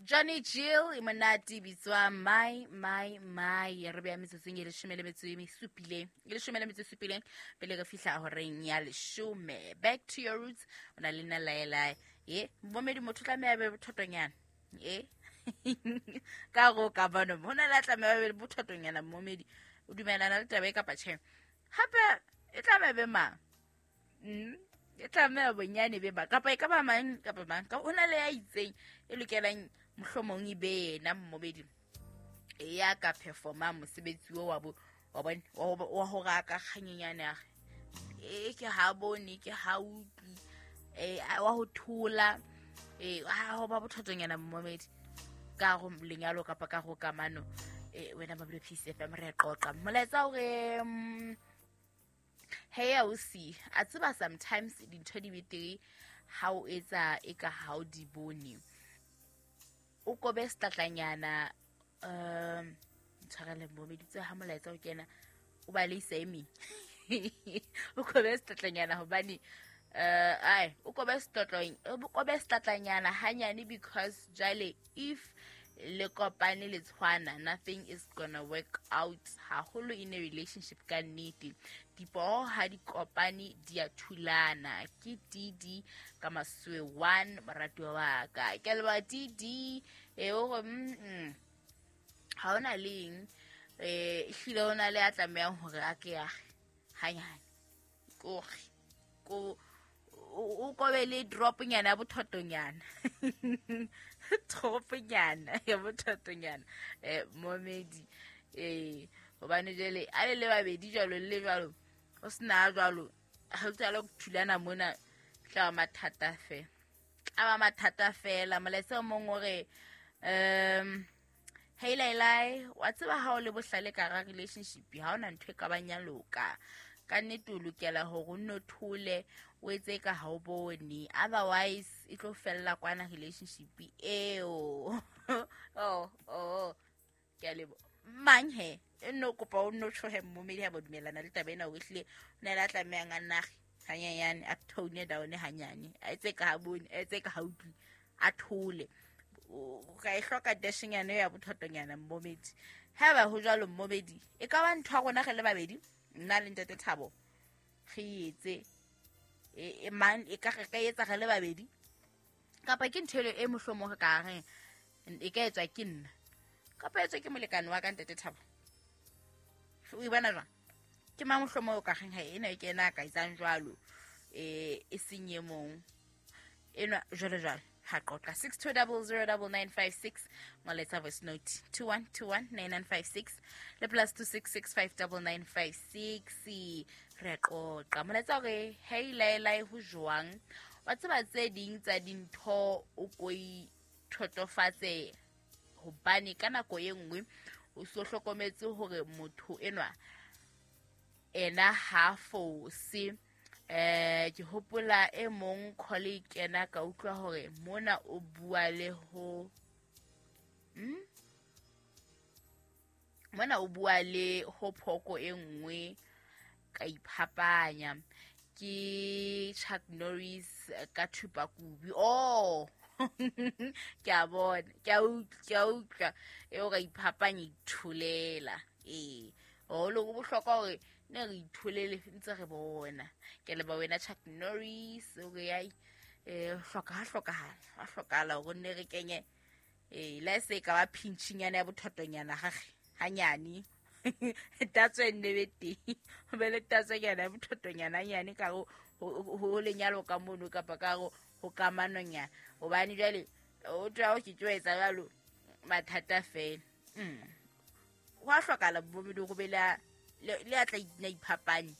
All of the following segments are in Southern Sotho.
Johnny Jill e monate e bitswa My My My. Re beya metsotsong e leshome le metso e supileng, e leshome le metso e supileng pele re fihla horeng ya leshome. Back to your roots, o na le nna laelae ye momedi. Motho tlameha be bothotonyana e ka go ka bano ho na le a tlameha be bothotonyana. Momedi, o dumelana le taba e kapa tjhe? Hape e tlameha be mang? E tlameha bonyane be ba kapa e ka ba mang kapa mang ka ho na le ya itseng e lokelang mohlomong e be yena mmobedi ya ka performang mosebetsi o wa bo wa bone wa hore a ka kganyenyane a e ke ha bone ke ha utlwi wa ho thola ha ho ba bothatonyana mmomedi ka go lenyalo kapa ka go kamano. Wena Mabelo Peace FM, re qoqa molaetsa hore hey ausi, a tseba sometimes dintho di betere ha o etsa e ka ha o di bone, o kobe setlatlanyana. Tshwarele mmomedi, tse ha molaetsa o kena o ba le isa e meng. O kobe setlatlanyana hobane ai o kobe setlotlong, o kobe setlatlanyana hanyane, because jwale if le kopane le tshwana, nothing is gonna work out haholo in a relationship. Ka nnete dipoo ha di kopane di a thulana. Ke DD ka Maswe 1, moratuwa wa ka, ke a leboha DD. E o re ha ona leng ehlile o na le a tlamehang hore a ke age hanyane kore ko o kobe le dropnyana ya bothotonyana, dropnyana ya bothotonyana momedi hobane jwale a le le babedi jwalo le jwalo o sena jwalo ha o tsala go thulana mona, tla ba mathata fela, tla ba mathata fela. Molaetsa o mong o re hey Lailai, wa tseba ha o le bohlale ka ra relationship ha ona ntho e ka bang ya loka. Ka nnete o lokela hore o nno thole, o etse ka ha o bone, otherwise e tlo fella kwana relationship eo. Oh, ke a lebo mang he e nno kopa o nno tshohe mmomedi ha ba dumellana le taba ena hore ehlile o ne le a tlamehang a nage hanyanyane, a tone down hanyane, a etse ka ha bone, a etse ka ha utlwi, a thole. O ka e hloka dashnyana ya bothotonyana mmomedi. Ha ba ho jwalo mmomedi, e ka ba ntho ya rona re le babedi, nna le ntate Thabo, re etse e mang e ka re ka etsa re le babedi, kapa ke ntho e mohlomong re ka reng e ka etswa ke nna kapa etswa ke molekane wa ka ntate Thabo? O e bona jwang? Ke mang mohlomong o ka reng ha ena e ke ena a ka etsang jwalo e seng e mong enwa jwalo jwalo? Ha qoqa 62009956, ngoletsa voice note 21219956 le +266 59956. Re qoqa molaetsa hore hey Laelae, ho jwang? Wa tseba tse ding tsa dintho o koi thotofatse hobane ka nako e nngwe o so hlokometse hore motho enwa ena ha fose. Ke hopola e mong colleague ena ka utlwa hore mona o bua le ho mona o bua le ho phoko e nngwe, ka iphapanya. Ke Chuck Norris ka thupakubi. Oh, ke a bona, ke a utlwa e o ka iphapanya, itholela. Ee, haholo go bohlokwa hore ne re itholele ntse re bona. Ke leba wena Chuck Norris o re ai hloka ha hlokahala, ha hlokahala hore nne re kenye la se ka ba pinchinyana ya bothotonyana gage hanyane, tatso e nne be teng, ho be le tatsonyana ya bothotonyana hanyane ka ho lenyalo ka mono kapa ka ho kamanonyana, hobane jwale o tla o ke tlo etsa jwalo mathata fela. Ho a hlokahala bomedi go be le a tla ina iphapanye,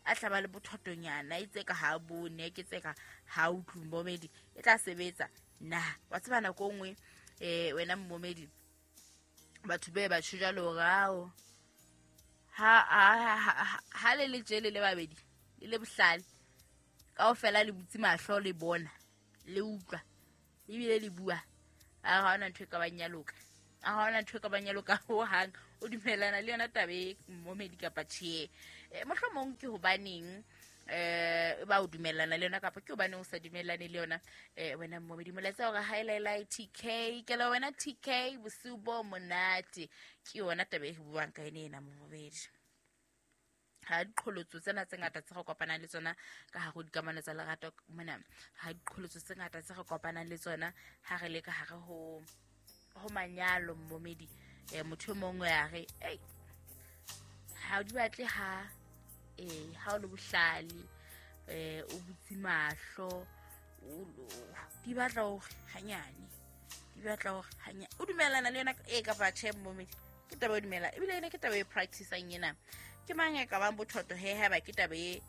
a tlaba le bothotonyana e tse ka ha bone ke tse ka ha utlwi mmomedi, e tla sebetsa na? Wa tseba nako nngwe wena mmomedi, batho be ba tjho jwalo hore ao ha le le tjele le babedi le le bohlale kaofela, le butse mahlo, le bona, le utlwa ebile le bua, a ha hona ntho e ka bang ya loka, a ha hona ntho e ka bang ya loka hohang. O dumellana le yona taba e mmomedi kapa tjhe? Mohlomong ke hobaneng Ba o dumellana le yona kapa ke hobane o sa dumellane le yona? Wena momedi, molaetsa hore haelaela TK ke le wena TK, bosiu bo monate. Ke yona taba e re buang ka ene ena momedi. Ha diqholotso tsena tse ngata tse re kopanang le tsona ka hare ho dikamano tsa lerato mona, ha diqholotso tse ngata tse re kopanang le tsona ha re le ka hare ho manyalo momedi, motho e mongwe a re ei ha di batle ha ha o le bohlale, o butse mahlo, di batla hore hanyane, di batla hore hanyane. O dumellana le yona e kapa tjhe momedi? Ke taba e dumela ebile ena ke taba e practice-ang ena. Ke mang e ka bang bothoto he haeba ke taba e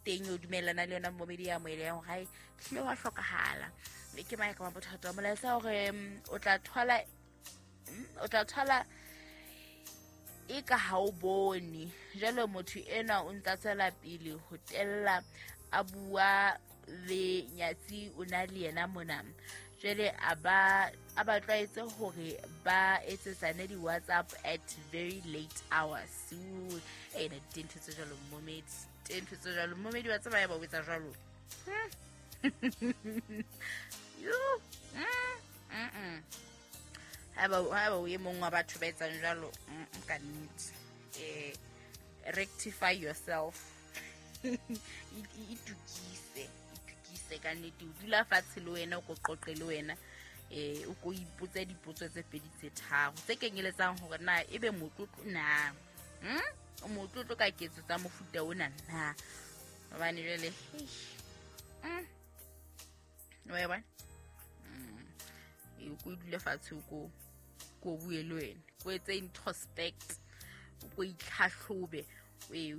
teng o dumellana le yona momedi ya moele yang hore hae hlile wa hlokahala? Ke mang e ka bang bothoto? Molaetsa hore o tla thola e ka ha o bone. Jwale motho enwa o ntsa tswela pele ho tella a bua le nyatsi o na le yena mona. Jwale a ba tlwaetse hore ba etsetsane di-WhatsApp at very late hours. Ena dintho tse jwalo momedi, dintho tse jwalo momedi wa tseba ya ba o etsa jwalo. Haeba o e mong wa batho ba etsang jwalo, ka nnete rectify yourself. Itukise ka nnete. O dula fatshe le wena, o ko qoqe le wena, o ko ipotse dipotso tse pedi tse tharo tse kenyeletsang hore na ebe motlotlo na, o motlotlo ka ketso tsa mofuta ona na. Hobane jwale wa e bona, o ko dule fatshe, o ko bue le wena, ko etse introspect, o ko itlhahlobe, e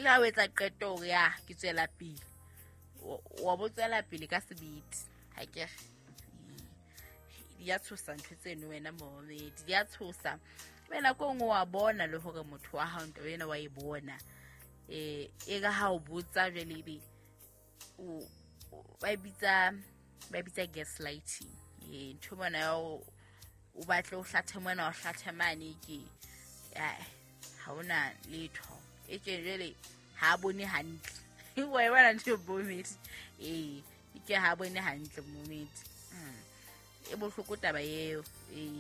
ka o etsa qeto hore ya ke tswela pele, wa bo tswela pele ka sebete. Ha ke re di a tshosa ntho tseno wena momedi, di a tshosa. Wena ko nngwe wa bona le hore motho wa hao nto wena wa e bona, e ka ha o botsa jwale ebe ba bitsa gaslighting. Ntho mona ya o batle o hlathe mona, o hlathe mane, ke ha ona letho e ke jwale ha bone hantle. Wa e bona ntho momedi, ke ha bone hantle momedi. E bohloko taba eo.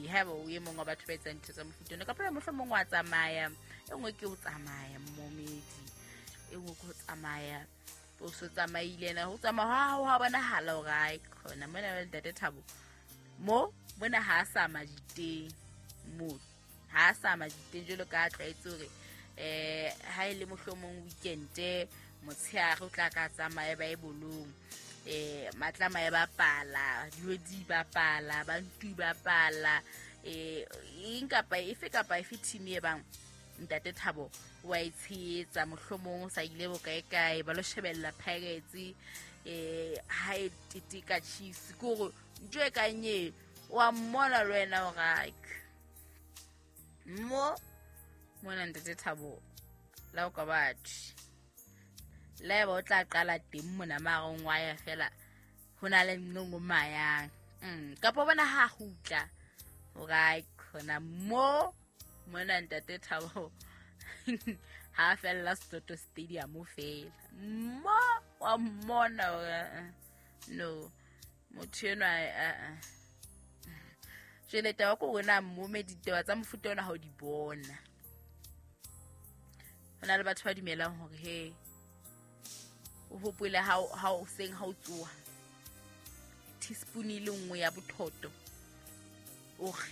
Haeba o e mong wa batho ba etsang ntho tsa mofuta ona, kapa mohlomong wa tsamaya, e nngwe ke ho tsamaya momedi, e nngwe ke ho tsamaya o so tsamaile na ho tsamaya ha bonahala hore ai khona mona ba ntate Thabo mo mona ha sa majiteng, mo ha sa majiteng jwalo ka tlwaetse hore ha ile mohlomong weekend motshehare o tla ka tsamaya ba e bolong, matlama ya bapala, diodi bapala, bantu bapala, eng kapa efe kapa efe team e bang ntate Thabo wa e tshehetsa, mohlomong o sa ile bokae kae ba lo shebella Pirates, ha e teteka Chiefs, ke hore ntho e kang e wa mmona le wena hore mo mona ntate Thabo la o ka batho la eba o tla qala teng mona marong wa ya fela ho na le nngwe mayang. Kapa bona ha kgutla hore khona mo mona ntate Thabo ha fella Soto Stadium fela mo wa mmona no motho enwa. Jwale taba ko rona momedi, ditaba tsa mofuta ona ha o di bona. Ho na le batho ba dumelang hore he o hopole ha o seng ha o tsoha teaspoon e le nngwe ya bothoto, o re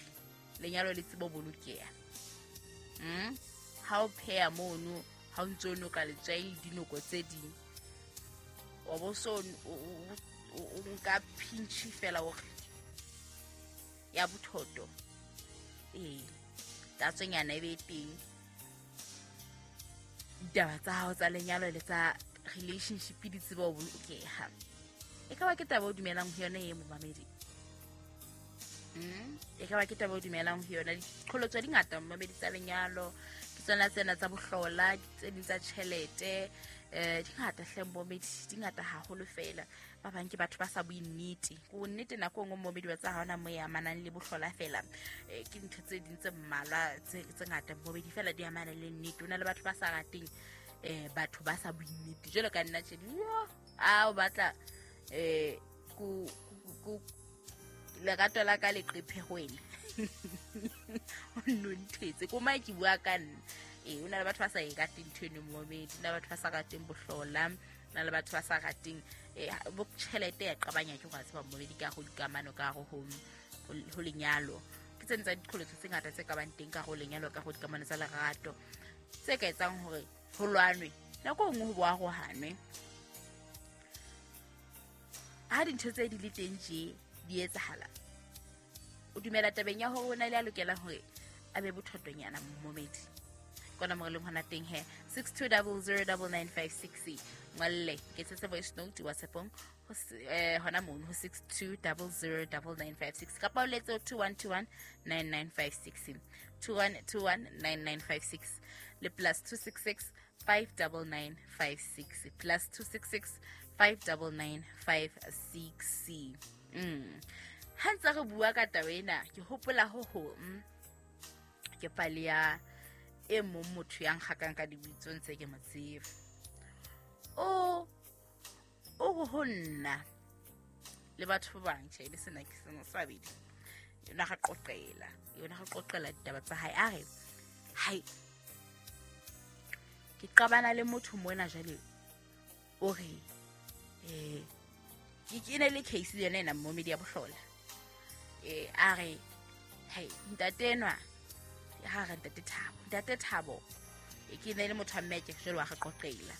lenyalo le tsebo bolokeha. Ha o pheha mono, ha o ntso noka letswai le dinoko tse ding, wa bo so o nka pinch fela o re ya bothoto, tatsonyana e be teng. Ditaba tsa hao tsa lenyalo le tsa relationship di tseba ho bolokeha. E ka ba ke taba o dumelang ho yona e momamedi? E ka ba ke taba o dumelang ho yona? Diqholotso di ngata momamedi tsa lenyalo, ke tsona tsena tsa bohlola, tse ding tsa tjhelete, di ngata hle momedi, di ngata haholo fela. Ba bang ke batho ba sa bue nnete. Ko nnete nako nngwe momedi wa tsa ha ona mo e amanang le bohlola fela. Ke ntho tse ding tse mmalwa tse ngata momedi fela di amana le nnete. Ho na le batho ba sa rateng Batho ba sa bueng nnete jwalo ka nna tjhe, a o batla ku lerato la ka le qephe ho wena. O nno nthetse ko mae ke bua ka nna. O na le batho ba sa e rateng ntho eno momedi, o na le batho ba sa rateng bohlola, o na le batho ba sa rateng bo tjhelete ya qabanya ke go tseba momedi ka go dikamano ka go ho lenyalo. Ke tsena tsa diqholotso tse ngata tse ka bang teng ka go lenyalo, ka go dikamano tsa lerato tse ka etsang hore ho lwanwe nako nngwe ho boa go hanwe. Ha dintho tse di le teng tje di etsahala, o dumela tabeng ya hore o na le a lokelang hore a be bothotonyana momedi. Kona mo re leng hona teng he 62009956 ngwalle ke tsetse voice note WhatsAppong hona mono ho 62009956 kapa o letse 21219956 21219956 le +266 59956 +266 59956. Ha ntse re bua ka taba ena ke hopola ho hong ke pale ya e mong motho ya nkgakang ka dibitso ntse ke mo tseba. O ho nna le batho ba bang tjhe le sena ke sena sa babedi. Yona ga qoqela, yona ga qoqela ditaba tsa hae. A re hai ke qabana le motho mona jwale o re ke ne le case yona ena momedi ya bohlola. A re hai ntate enwa ha re ntate Thabo, ntate Thabo ke ne le motho wa mme ke jwale wa re qoqela.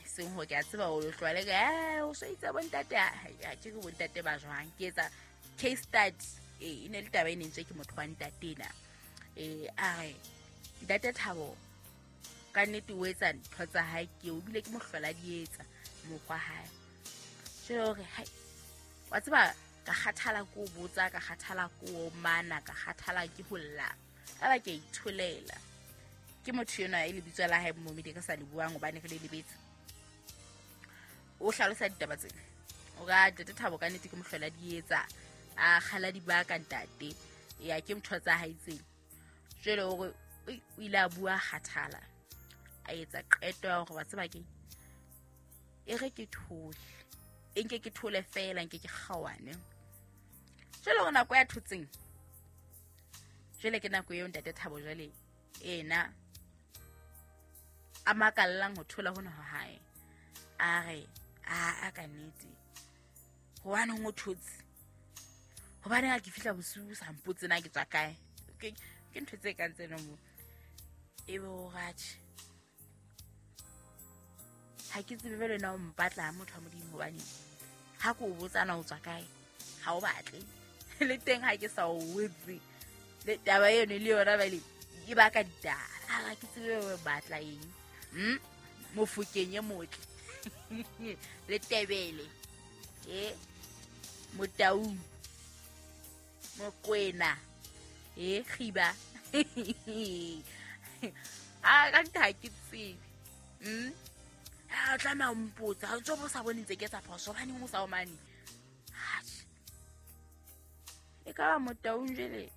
Seng ho ke a tseba o tlwale ka o so itse bo ntate ha ke bo ntate ba jwang ke etsa case study. E ne le taba e ne ntse ke motho wa ntate ena. A re ntate Thabo ka nnete o etsa ntho tsa hae ke o bile ke mohlola di etsa mokgwa hae. Jwale hore hai wa tseba ka kgathala ko botsa, ka kgathala ko mana, ka kgathala ke ho lla. Ka ba ke itholela. Ke motho yona e lebitso la hae momedi ka sa le buang hobane re le lebetse. O hlalosa ditaba tsena. O ka ntate Thabo ka nnete ke mohlola di etsa a kgala dibaka ntate ya ke ntho tsa hae tsena. Jwale hore o ile a bua kgathala a etsa qeto ya hore wa tseba ke e re ke thole, e nke ke thole fela nke ke kgawane. Jwale hore nako ya thotseng jwale ke nako eo ntate Thabo jwale ena a makallang ho thola hona ho hae. A re a ka nnete hobane o thotse, hobane ha ke fihla bosiu sa mpotse na ke tswa kae. Ke ntho tse kang tseno mo ebe o ratjhe ha ke tsebe jwale na o mpatla ha motho wa Modimo hobane ha ke o botsa na o tswa kae ha o batle le teng ha ke sa o wetse le taba eno le yona bale e baka ditaba. Ha ke tsebe o batla eng mofokeng e motle le tebele motaung mokwena khiba a ka nta ke tsebe a tlameha o mpotsa ha ntso bo sa bone ntse ke etsa phoso hobaneng o sa o mane. E ka ba motaung jwale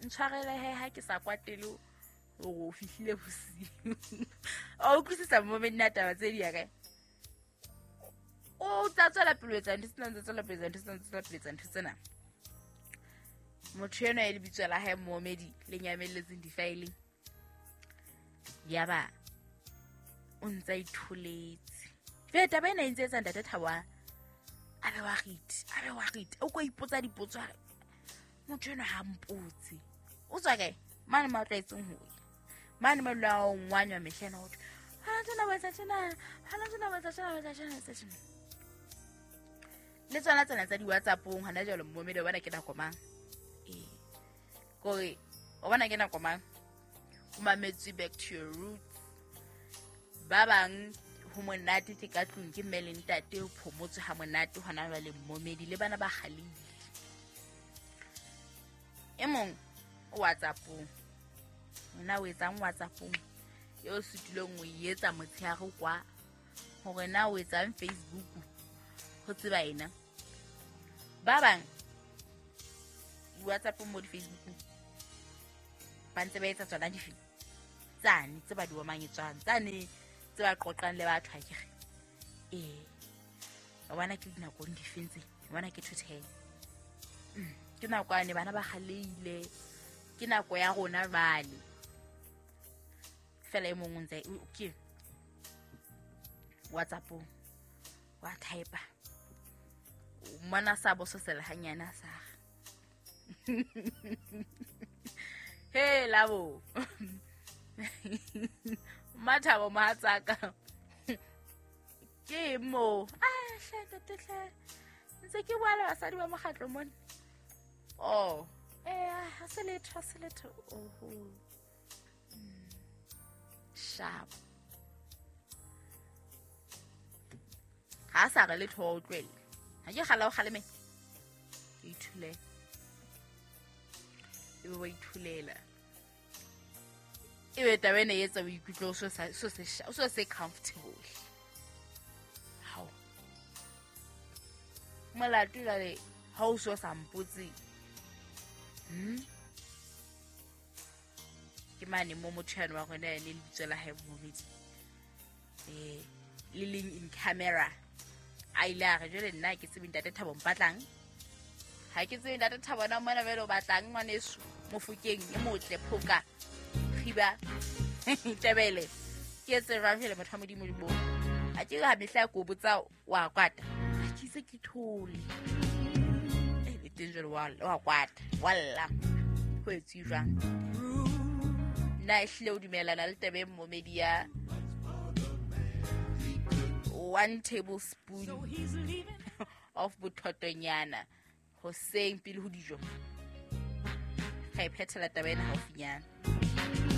ntshwarele he ha ke sa kwatele hore o fihlile bosiu. O utlwisisa momedi na taba tse di ya kae? O tla tswela pele ho etsa ntho tsena, tswela pele ntho tsena, tswela pele ntho tsena. Motho enwa e lebitso la hae momedi le nyamelletseng difaeleng. Yaba o ntsa itholetse. Jwale taba ena e ntse etsa ntate Thabo a be wa rite, a be wa rite. O ko ipotsa dipotso a re motho enwa ha mpotse. O tswa kae? Mane ma tlwaetseng ho ya. Mane ma lwa o ngwanywa mehla ena ho thwe ha tsena ba etsa tjena, ha tsena ba etsa tjena, ba etsa tjena, etsa tjena. Le tsona tsena tsa di-WhatsApp-ong hona jwale momedi o bona ke nako mang? Kore o bona ke nako mang? O mametse back to your roots. Ba bang ho monate ke ka tlung ke mme le ntate ho phomotswe ha monate hona jwale momedi le bana ba kgalile. E mong o WhatsApp-ong. Wena o etsang WhatsApp-ong? Eo sutileng o e etsa motshehare kwa hore na o etsang Facebook ho tseba ena. Ba bang WhatsApp mo di Facebook ba ntse ba etsa tsona dife Tsane tse ba di omanyetswang, tsane tse ba qoqang le batho akere. Ee, wa bona ke dinakong difeng tse, wa bona ke 2:10. Ke nako yane bana ba kgaleile, ke nako ya rona jwale. Fela e mong o ntse ke WhatsApp-ong wa type-a. Mona sa bososela hanyane a sa re. He labo. Mathabo mohatsaka. Ke mo. Ah, hle ntate hle. Ntse ke bua le basadi ba mokgatlo mona. Oh, ha se letho, ha se letho. Oho. Sharp. Ha sa re letho o utlwele. Ha ke kgala o kgaleme. Ke ithulele. Ebe wa ithulela. Ebe taba ena e etsa o ikutlwe o so se comfortable. Hao. Molato jwale ha o so sa mpotse. Ke mane mo motho yane wa rona yane lebitso la hae Momedi. Le leng in camera. A ile a re jwale nna ke tsebe ntate Thabo mpatlang. Ha ke tsebe ntate Thabo na mona jwale o batlang ngwaneso Mofokeng e motle phoka. Khiba. Tebele. Ke etse jwang jwale motho wa Modimo le bo. Ha ke ha mehla ko botsa wa kwata. Ha ke se ke thole. Le teng jwale wa kwata. Walla. Ho etswe jwang? Nna ehlile o dumelana le taba e Momedi ya 1 tablespoon of bothotonyana hoseng pele ho dijo. Ra e phethela taba ena haufinyana.